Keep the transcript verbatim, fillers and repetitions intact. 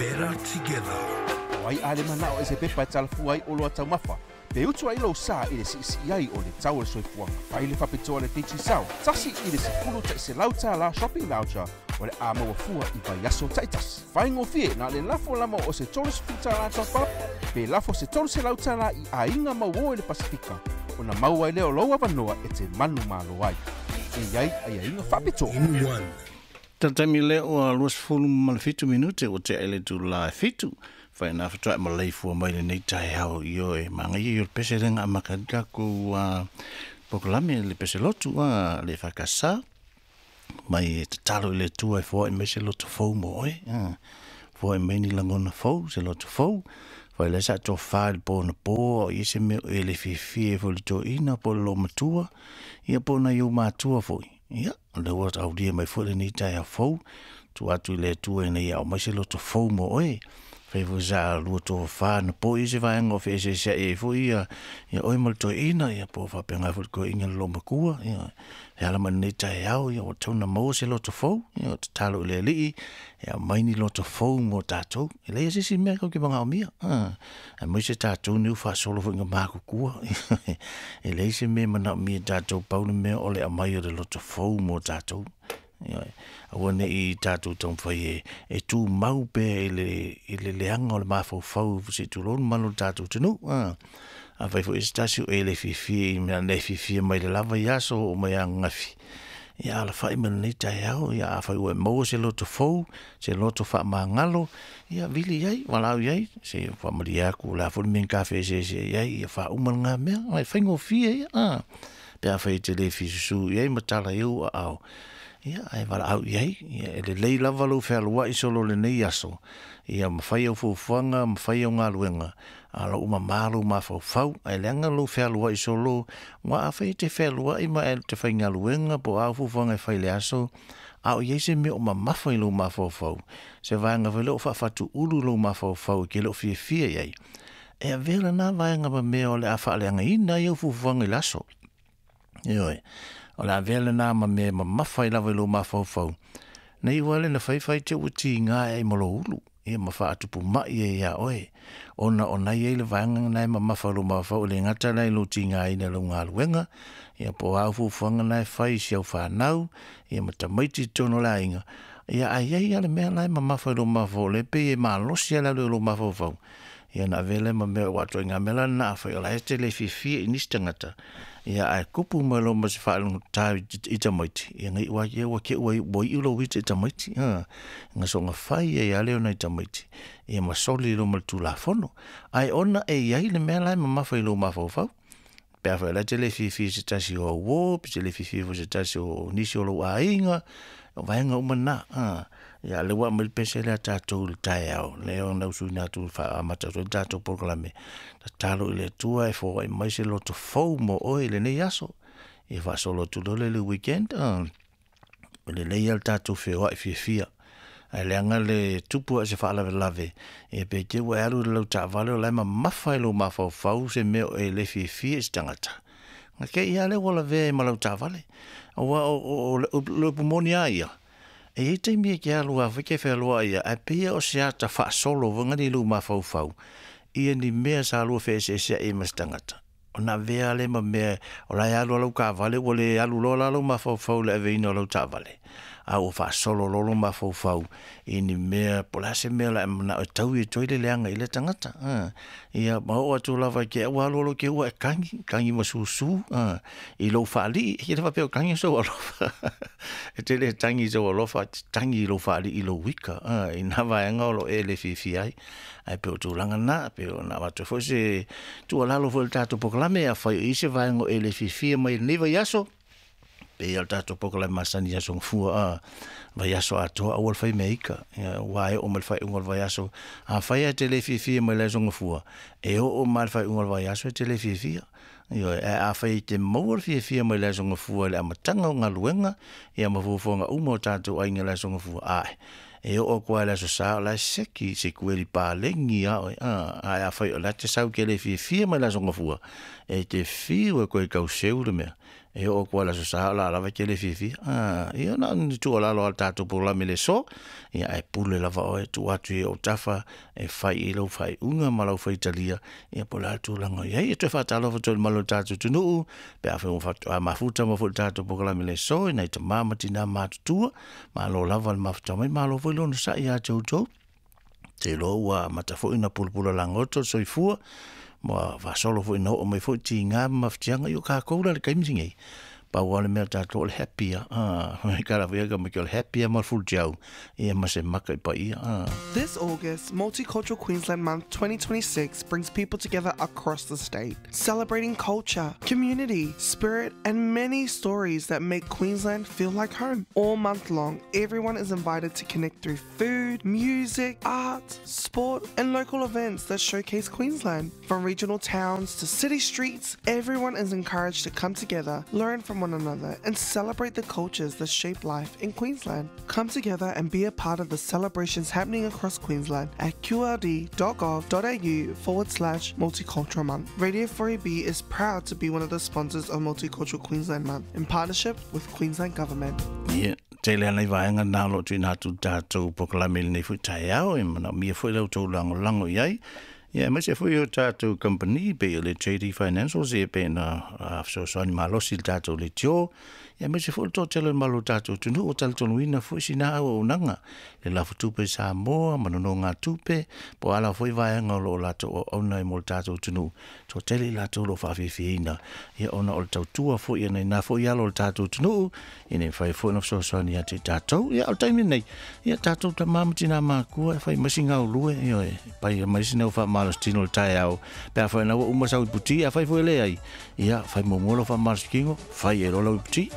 Better together. O ai ale manao e se pepa e talafua ai o loa taumafa. Pe utu ai lou sa i le siisii ai o le tau o le soifuaga. Fai le faapitoa le Digicel, tasi i le sefulu ta'iselau tālā shopping voucher o le a maua fua i vaiaso ta'itasi. Faigofie na le lafo lama o se tolu sefulu tālā top up, pe lafo se tolu selau tālā i aiga mauō i le Pasifika, ona maua ai lea o lou avanoa e te manumalo ai. E iai aiaiga faapitoa. In one. Taimi lea ua luasefulu ma le fitu minute ua tea i le itulā e fitu. Faina fatoa'i ma leifua mai lenei taeao io e magaia i o le pese lega amaka ai takou polokalame le pese lotu a le E F K S mai e tatalo i le Atua e foa'i mai se loto fou mo oe, foa'i mai ni lagona fou, se loto fou. Fai lea sa tofā i le po na po o i se mea e le fiafia foi le toeaina po o le loomatua ia po o nai ou matua foi. Ia o lea ua aulia mai foi lenei taeao fou tuu atu i le Atua ina ia aumai se loto fou mo oe. Fai foi sa lua tofafā na po i se vaega o feeseesea'i ai foi ia ia oe ma le toeaina ia po o faapena foi le toeaina le loomatua ia e ala mai lenei taeao ia ua tatau ona maua se loto fou. Ia o tatalo i le Alii e aumai ni loto fou mo tatou. E leai se isi mea tatou te manaomia aemaise tatou nei ua faasolo foi ina matutua. E leai se mea e manaomia e tatou, pau le mea o le aumai o le loto fou mo tatou. Aua ne'i tatou taumafai e e tumau pea i le i le leaga o le mafaufau se'i tulou le mamalu o le tatou atunuu. Afai foi se tasi o e le fiafia i mea na e fiafia mai le lava i aso oo mai ananafi, ia alafa'i mai lenei taeao. Ia afai ua e maua se loto fou, se loto faamagalo, ia vili i ai, valaau i ai se faamalie atu o le a foi le mea na ta feeseeseai ai, ia faauma lena mea e faigofie ia a pe afai e te le fia susū i ai ma tala i ou aao, ia ae valaau i ai. Ia e lelei lava lou fealua'i solo lenei aso ia mafai au fuafuaga, mafai au galuega a o lou mamā lou mafaufau ae leaga lou fealua'i solo ua afai e te fealua'i ma e te faigaluega po o a au fuafuaga e fai i le aso a o i ai se mea o mamafa i lou mafaufau, se vaega foi lea o faafatuulu lou mafaufau e te le o fiafia i ai, e avea lena vaega ma mea o le a faaleagaina ai au fuafuaga i le aso. Ioe, o le avea lena ma mea e mamafa ai lava i lou mafaufau nei ua le na faifai te ua tiga e ai ma lou ulu ia ma faatupuma'i ai iā oe ona o na i ai le vaega lena e mamafa i lou mafaufau e le gata la i lou tigaina i lau galuega ia po o a au fuafuaga na e fai i si au fanau ia ma tamaiti i totonu o le aiga ia ae i ai lava le mea la e mamafa i lou mafaufau o lea e pei e malosi lava le alu i lou mafaufau ia ona avea lea ma mea ua atoaiga mea la lena afai o la e te le fiafia i nisi tagata ia ae kupu mai loa ma se faalogotā i tamaiti ia na iu lava ia ua te ua iu lou ita i tamaiti a na soona fai ai lava lea o nai tamaiti ia ma soli loa ma le tulafono ae ona e i ai le mea la e mamafa i lou mafaufau pe afai o la e te le fiafia i se tasi o au uō pe te le fiafia foi i se tasi o nisi o lou aiga o vaega uma na a ia lea ua aumai le pese lea a tatou i le taeao lea ona usuina atu faaamata atu ai le tatou polokalame tatalo i le Atua e foai mai se loto fou mo oe i lenei aso ia faasolo atu loa lea i le weekend a e lelei lava le tatou feoa'i fiafia ae leaga le tupu ae se faalavelave ia pe te ua e alu i le lau taavale o la e mamafa i lou mafaufau se mea o e le fiafia i se tagata na te i lava lea ua lavea ai ma lau taavale aua o le upu moni lava ia e i ai taimi e te alu lava foi te fealuai ia ae pei o se ata faasolo foi lea i lou mafaufau ia ni mea sa lua feeseeseai ai ma se tagata ona avea lea ma mea o la e alu lava lau taavale ua le alu loa la lou mafaufau i le aveina o lau taavale a ua faasolo loa lou mafaufau i ni mea po o le a se mea o le a e manao e taui atu ai le leaga i lea tagata a ia ma oo atu lava i te ua alu loa te i ua e tagi tagi ma susū a i lou faalii. E le faapea o tagi sou alofa e te le tagi i sou alofa, e te tagi i lou faalii i lou ika a i na vaega o lo o e le fiafia ai ae pei o tulaga na pei ona avatu ai foi se tuualalo foi i le tatou polokalame afai o i ai se vaega o e le fiafia mai i lenei vaiaso pei o le tatou polokalame masani i aso gafua a vaiaso atoa aua le fai mea ika ua e oo mai le faaiuga o le vaiaso afai ae te le fiafia mai le aso gafua e oo mai le faaiuga o le vaiaso e te le fiafia. Ioe, ae afai e te maua le fiafia mai le aso gafua i le amataga o galuega ia ma fuafuaga uma o tatou aiga i le aso gafua ae e oo atu lava i le aso Sa o la e seki se kueli palegi a oe a ae afai o la e te sau te le fiafia mai le aso gafua e te fiu e koe tauseu le mea E o ko la sa la lava ke le fifi. Ah, ia na ni tu ala lo tatou polokalame le so. Ia e pule lava o e tu atu e o tafa e fai i lau fai unga ma lau fai talia. Ia po la tulaga i ai e toe faatalofa atu i le malo o le tatou atunuu pe afai ua faatoa mafuta ma foi le tatou polokalame le aso i nai tamā ma tinā matutua. Malo lava le mafuta mai, malo foi lona sa'i ia te outou. Te iloa ua amata foi ona pulapula lagoto le soifua ma faasolo foi ina oo mai foi tigā ma mafatiaga i o kākou la le taimi lenei. Pau lava le mea tatou o le happy a. Ah, kala foi ka mai o le happy a ma le fulutiau ia ma se maka i paia. Ah. This August, Multicultural Queensland Month twenty twenty-six brings people together across the state, celebrating culture, community, spirit, and many stories that make Queensland feel like home. All month long, everyone is invited to connect through food, music, art, sport, and local events that showcase Queensland. From regional towns to city streets, everyone is encouraged to come together, learn from one another, and celebrate the cultures that shape life in Queensland. Come together and be a part of the celebrations happening across Queensland at qld.gov.au forward slash multicultural month. Radio four A B is proud to be one of the sponsors of Multicultural Queensland Month in partnership with Queensland Government. Yeah. Tele ana i vaega na o lo o tuuina atu tatou polokalame i lenei foi taeao e manaomia foi le outou lagolago i ai. Ia aemaise foi o tatou company pei o le J D Financials ia pe na fesoasoani malosi i le tatou leitio. Ia aemaise foi le toatele o le malo o tatou atunuu o talitonuina foi sina auaunaga le lafutupe i Samoa ma nonogatupe po o ala foi vaega o lo o latou auauna ai mo le tatou atunuu. Toatele i latou o lo o faafiafiaina ia ona o le tautua foi ia nai foi alo o le tatou atunuu ina ia mafai foi ona fesoasoani ia te i tatou. Ia o le taimi lenei ia tatou tamā ma tinā makua e fai mai si gaulue ia e pai mai sina faamalositino o le taeao pe afai na ua uma sau iputi afai foi le ai ia fai muamua lau faamalosikino fai e loa lau iputi.